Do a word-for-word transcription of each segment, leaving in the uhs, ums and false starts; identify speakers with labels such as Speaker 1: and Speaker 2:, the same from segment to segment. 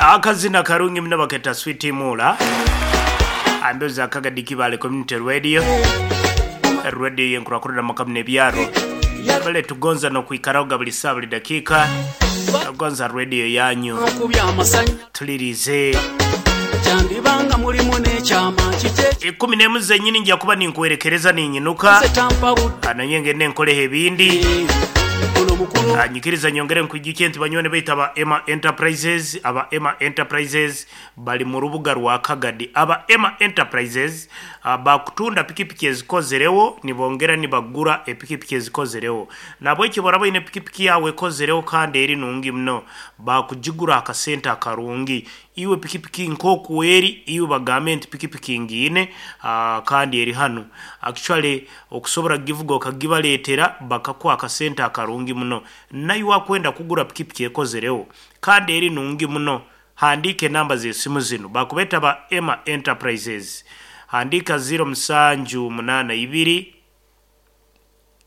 Speaker 1: Akazina karungi muno baketa Sweet Mula, ambezo akagadi Kibale Community Radio, radio yenkurakurira makamu n'ebyaro bale tugonza nokwikaraho buli saa buli dakiika. Tugonza radio yanyu.
Speaker 2: Okubya amasanyu.
Speaker 1: Tulirize.
Speaker 2: Kyandibanga mulimu n'ekyama kike.
Speaker 1: Ikumi n'emu zenyini nja kuba ninkuwerekereza ninyinuka.
Speaker 2: Nze tampa budde.
Speaker 1: Ananye ngende nkoleho ebindi.
Speaker 2: Ono mukulu.
Speaker 1: Anyikiriza nyongere nkwijukye nti banywani baitu aba Emma Enterprises, aba Emma Enterprises bali mu rubuga rwa Kagadi. Aba Emma Enterprises ah, bakutunda pikipiki ezikozerewo, nibongera nibagura epikipiki ezikozerewo. Nabwekyo boraba oyine pikipiki yawe ekozerewo kandi eri nungi muno, bakugigura akasente akarungi. Iwe pikipiki nk'oku eri, iwe bagambe nti pikipiki ngiine, ah, kandi eri hanu. Actually okusobora kugivuga okagibaleetera bakakuha akasente akarungi muno. Naiwe akwenda kugura pikipiki ekozerewo kandi eri nungi muno, handiika enamba z'esimu zinu. Bakubeeta ba Emma Enterprises. Handiika ziro musanju munaana ibiri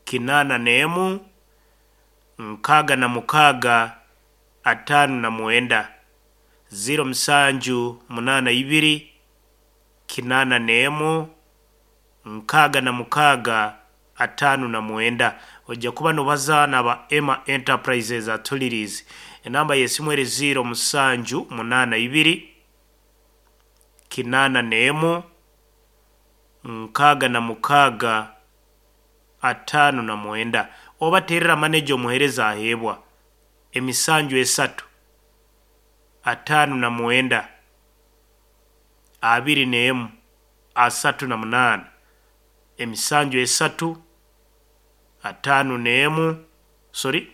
Speaker 1: kinaana n'emu nkaaga na mukaaga ataano na mwenda, ziro musanju munaana ibiri kinaana n'emu nkaaga na mukaaga ataano na mwenda. Ojja kuba nobaza n'aba Emma Enterprises atulirize. Enamba y'esimu eri ziro musanju munaana ibiri kinaana n'emu nkaaga na mukaaga ataano na mwenda. Oba terera maneja omuheereza aheebwa emisanju esatu ataano na mwenda abiri n'emu asatu na munaana, emisanju esatu ataano n'emu, sorry,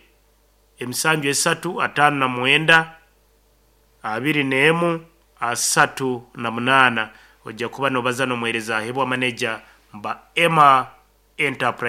Speaker 1: emisanju esatu ataano na mwenda abiri n'emu asatu na munaana. Ojja kuba nobaza n'omuheereza aheebwa maneja mba Emma Enterprise.